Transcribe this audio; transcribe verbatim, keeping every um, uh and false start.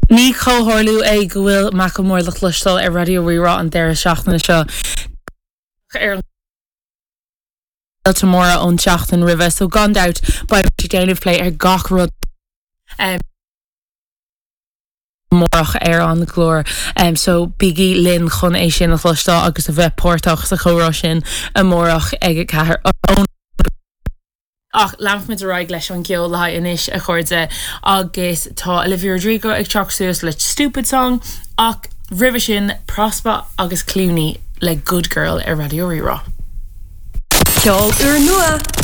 Ní comhtharlú é go bhfuil Macklemore le cloisteáil ar Raidió Rí-Rá an deireadh seachtaine seo ar an móra ón seachtain roimhe, so gan dabht beidh déanamh plé ar gach rud um, amárach ar an gclár um, so bígí linn chun é sin a chloisteáil agus a bheith páirteach sa chomhrá sin amárach ag a ceathair Ach leanfaimid ar aghaidh leis an gceol le anois a chairde agus tá Olivia Rodrigo ag teacht suas le Stupid Song ach roimhe sin Prospa agus Clooney le Good Girl ar Raidió Rí-Rá. Ceol úrnua